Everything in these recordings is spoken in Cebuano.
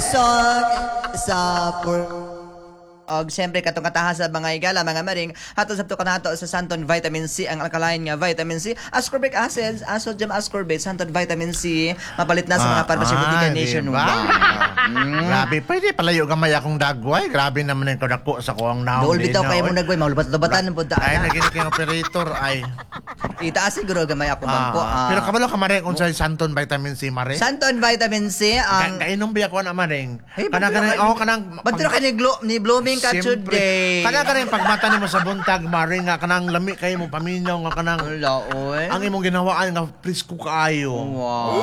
Song sa Og siyempre katong kataha sa mga higala, mga maring, hatod sabto kanato sa Santon Vitamin C, ang alkaline nga vitamin C, ascorbic acids, sodium ascorbate, Santon Vitamin C, mapalit na sa mga pharmacy botika Diba? nationwide. Grabe, pwede palayo gamay akong dagway. Grabe naman yung kadako sa kuang naon. Dool bitaw din, kay oy. mo nagway, maulubat-lubatan po ta. Ay, naging kang operator ay. Itaas siguro gamay ako bangko. Pero kabalo ka maring kung sa Santon Vitamin C mare. Santon Vitamin C ang Kainom biya ko na maring. Hey, Kanang kanang oh kanang Ba't ka ni, ni blooming ka Siyempre. today? Kanang kanang pagmata nimo sa buntag maring nga kanang lami kayo mo paminaw nga kanang Wala, oy. ang imong ginawaan nga presko kaayo. Wow.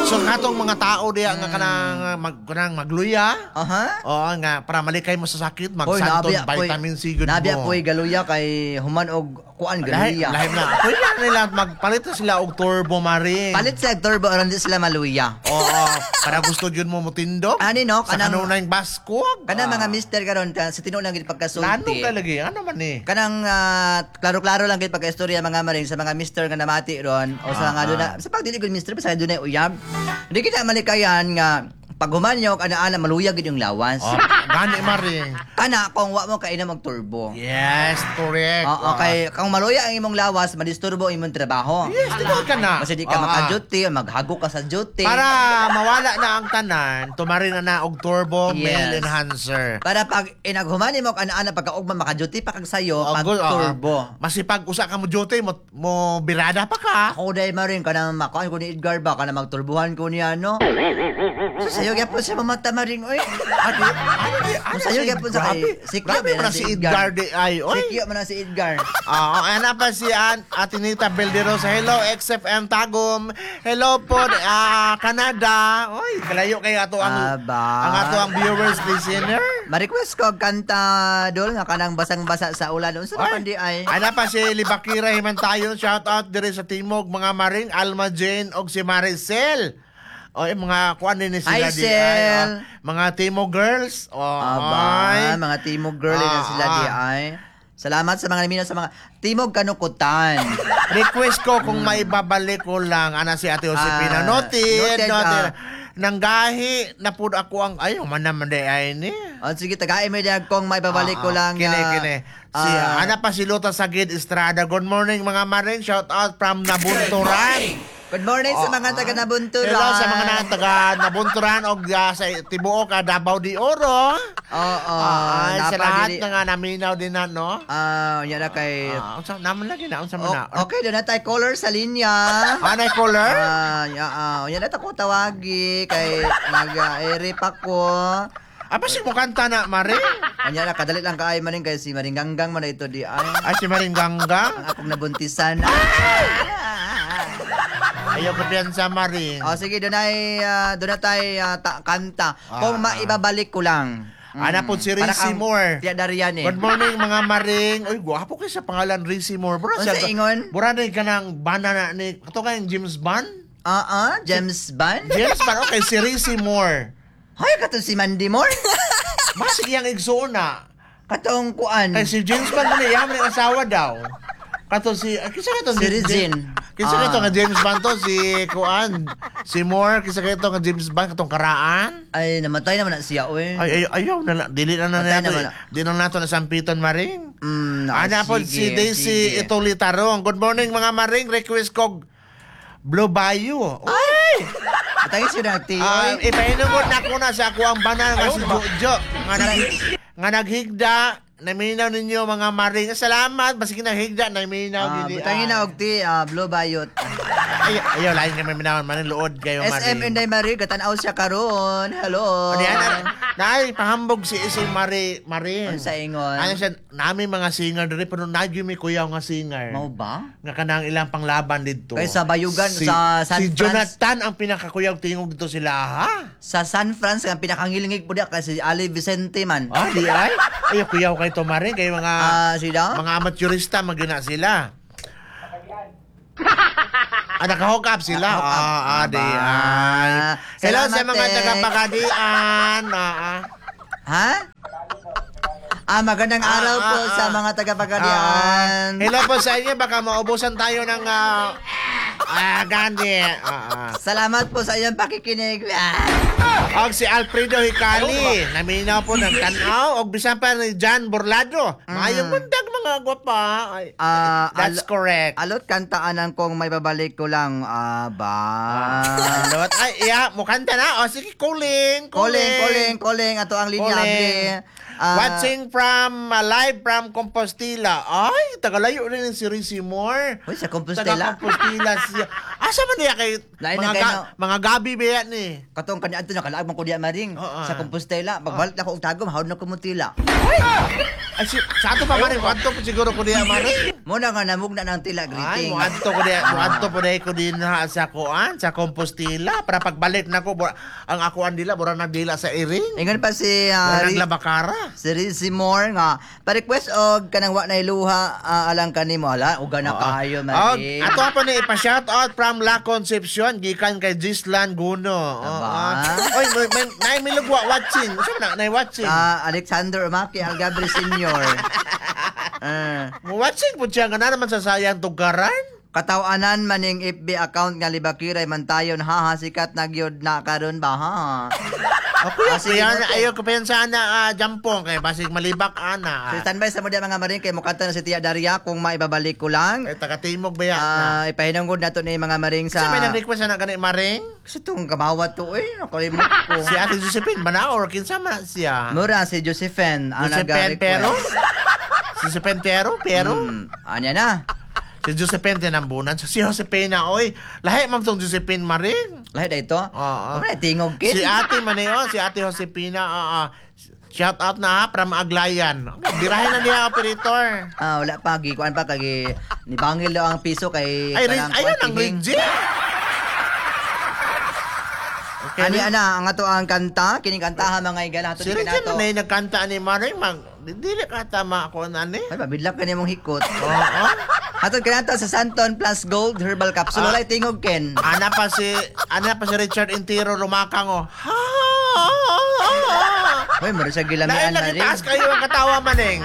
So katong mga tao diya nga kanang mag kanang magluya. Oo nga para malikay mo sa sakit mag Hoy, Santon nabiya po'y- Vitamin C gud mo. Nabiya po'y galuya kay human og kuan Lahi, galuya. lahi na. Pwede na nila magpalit na sila og turbo maring. Palit sa turbo aron di sila maluya. Oo, para gusto yun mo mutindog. Ani, no? Sa Kanang- kanunay baskog. Kanang mga mister karon sa tinuod lang gid Lano pagkasulti. ka lagi? Ano man eh? Kanang klaro-klaro lang gid pagkaistorya mga maring sa mga mister nga namati ron o sa nga duna sa pagdili gud mister basta dunay uyab. Di kita malikayan nga pag humanyo ana-ana maluya gid yung lawas. Oh, gani maring. Kana kung wa mo kainom og turbo. Yes, correct. Oo, kay kung maluya ang imong lawas, madisturbo ang imong trabaho. Yes, tinuod ka na. Kasi di ka maka-duty, maghago ka sa duty. Para mawala na ang tanan, tumari na na og turbo male enhancer. Para pag inaghuman mo ana-ana pagkaugma maka-duty pa kag sayo, Oh, pag good, turbo. Masipag usa ka mo duty, mo birada pa ka. Ako dahil marin kanang makuan ko ni Edgar ba kanang magturbuhan ko niya no. So sayo gyapon siya mamata maring oy. Ano, ano, ano, Sayo gyapon sa kay si Kyo Grabe man na si Edgar di ay, oy. Si Kyo man na si Edgar. Oo, ana pa si Atinita Belderosa. Hello, XFM Tagum. Hello po, Canada. Oy, kalayo kayo ato ang Aba. ang ato ang viewers listener. Ma-request ko og kanta dol nga kanang basang-basa sa ulan. Unsa na Ay, man di ay? Ana pa si Libakira Himantayon. Shout out dire sa Timog mga maring Alma Jane og si Maricel. Oy, mga kuan din ni sila Hi, di Sel. ay, oh, mga Timog girls. Oh, Aba, ay. mga Timog girl na sila di ay. Salamat sa mga namina sa mga Timog Kanukutan. Request ko kung maibabalik ko lang ana si Ate Josepina. Noted, Noted, noted. Nanggahi na pud ako ang ay man naman di ay ni. O sige, tagain mo diyan kung may babalik ko lang. Kini kini. Si ana pa si Lota Sagid Estrada. Good morning mga maring. Shout out from Nabunturan. Good morning sa mga taga Nabunturan. Hello sa mga taga Nabunturan og sa tibuok Davao de Oro. Oo. Sa lahat na nga naminaw din na no. Yan na kay Unsa naman lagi na unsa man na. Okay, doon na tayo caller sa linya. Anay caller? Yan na ko tawagi kay nag-ere pa ko. Apa si mo kanta na Mare? Anya na kadali lang kaay maring kay si Maring Ganggang man na ito di ay. Ay si Maring Ganggang. Ang akong nabuntisan. Ayaw ko piyansa Maring. O sige, doon ay doon na tayo kanta. Kung maibabalik ko lang. Ana po si Para Rizzy kang Moore. Tia Darian eh. Good morning mga Maring. Uy, gwapo kay sa pangalan Rizzy Moore. Bura Unsa ingon? Bura ni kanang bana na ni kato kayong James Bond? James Bond? James Bond, okay, si Rizzy Moore. Hoy, katong si Mandy Moore? Masig iyang igsoon na. Katong kuan. Kay si James Bond ni iyang ni asawa daw. Kato si kinsa kato Si Regine. Kinsa kato nga James Bond to si kuan si Moore kinsa kato nga James Bond katong karaan. Ay, namatay naman na siya, oy. Ay, ay ayaw na dili na na Patay nato. naman na. Di na nato na sampiton Maring. Ana Ana po si Daisy Itulitarong. Good morning mga Maring. Request kog Blue Bayou. Uy! Atay siya na ti. oy. Ipahinungod na ko na sa ako ang banal nga si Jojo. Nga naghigda. Naminaw ninyo mga Maring. Salamat. Basig naghigda. Naminaw. Gini. Butangin na og ti Blue Bayot. Ay, ayaw, lain kami minawan. Maring luod kayo, Maring. SM Inday Marie, katanaw siya karon. Hello. Ano yan? Nay, pahambog si Isay Mari, Maring. Unsa ingon? Ano siya, nami mga singer diri pero nagyo mi kuyaw nga singer. Mao ba? Nga kanang ilang panglaban dito. Kay sa Bayugan, sa San Si Frans- Jonathan ang pinakakuyaw tingog dito sila, ha? Sa San Fran, ang pinakangilingig po diya kasi si Ali Vicente man. Ah, di ay? Ay, kuyaw kay to Maring, kay mga Sila? mga amateurista magyuna sila. Naka-hook up sila. Naka-hook up. Di Aba. ay. Hello sa Salamat, mga eh. taga-Pagadian. Ha? Magandang araw po sa mga taga-Pagadian. Hello po sa inyo. Baka maubusan tayo ng Ah, gani. Ah, ah. Salamat po sa iyong pakikinig. Ah. Og si Alfredo Hikali, naminaw po ng tanaw. Og bisan pa ni John Borlado. Maayong buntag, mga gwapa. Ay, Ah, that's correct. Alot kantaanan kong may babalik ko lang. Ah, ba. Alot. Ay, iya, mukanta na. O, sige, calling. Calling, calling, calling. Ato ang linya, Calling. abli. Ah, Watching from, live from Compostela. Ay, tagalayo rin si Rizzy Moore. Uy, sa Compostela? Taga Compostela siya. Asa man niya kay Lain mga, na kayo, no? mga gabi ba yan ni? Katong kanya adto nakalaag man ko diya maring Oo, sa ah. Compostela. Pagbalik na ko og Tagum, hawd na ko mutila. Ay, si, sa ato pa maring, adto po siguro ko diya maring. Muna nga namugna ng tila Ay, greeting. muadto ko diya, muadto po diya ko din ha, sa kuan, sa Compostela para pagbalik na ko ang akuan dila mura nagdila sa iring. Ingon pa si Mura naglabakara. si Rizzy Moore nga pa-request og kanang wa nay luha alang kanimo hala uga na kaayo Og maring. ato pa ni ipa-shout out from La Concepcion gikan kay Gislan Guno. Oo. Aba. Oy, may nay milugwa watching. Unsa man na nay watching? Ah, Alexander Umaki Algabre Senior. Mo watching po siya nga na naman sa sayang tugaran. Katawanan maning FB account nga libakiray man tayon ha ha sikat na gyud na karon ba ha. Okay, Ah, sige, kaya note. ayo ko pensa na jampong kay basig malibak ana. So standby sa mo diya, mga maring, kay mukanta na si Tia Daria kung maibabalik ko lang. Kay taga-timog ba yan? Ah, ipahinungod nato ni mga maring Sa sa may nag-request na gani maring? Kasi itong kamawat to eh, nakalimot ko. Si Ate Josephine ba na or kinsa man na siya? Mura si Josephine ang Josephine nag-request. Pero? Si Josephine Pero? Pero? Anya na. Si Josephine tinambunan. Si Josephine na, oy. Lahi man tong Josephine maring. Lahi na ito. Oo. Wala tingog kin. Si Ate man eh, oh, si Ate Josepina, oo. Shout out na ha, from Aglayan. Birahin na niya, operator. Ah, wala pa gikuan pa kagi ni bangil daw ang piso kay Ay, kanang ayun ang kuwan, Reggie. Okay, Ani ana ang ato ang kanta kining kantaha mga igala ato Si ni Reggie kanato. man na nagkanta ni Maring, mag, dili ka tama ako na ni. Ay, pabidlak ka nimong hikot. Oo. Atod kanato sa Santon Plus Gold Herbal Capsule. Ah. Walay tingog ken. Ana pa si Richard Intiro rumakang oh. Ha. Hoy, mura siya Lain gilamian lagi na rin. taas kayo ang katawa maning.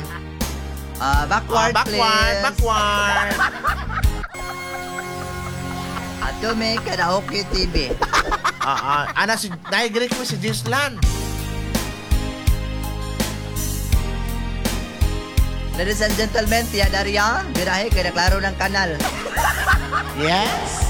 Ah, backward, Ah, backward, please. backward. Ato may karaoke TV. Ah, ah. Ana si naigrik ko si Gislan. Ladies and gentlemen, Tia Daria, birahe kay naklaro ng kanal. Yes.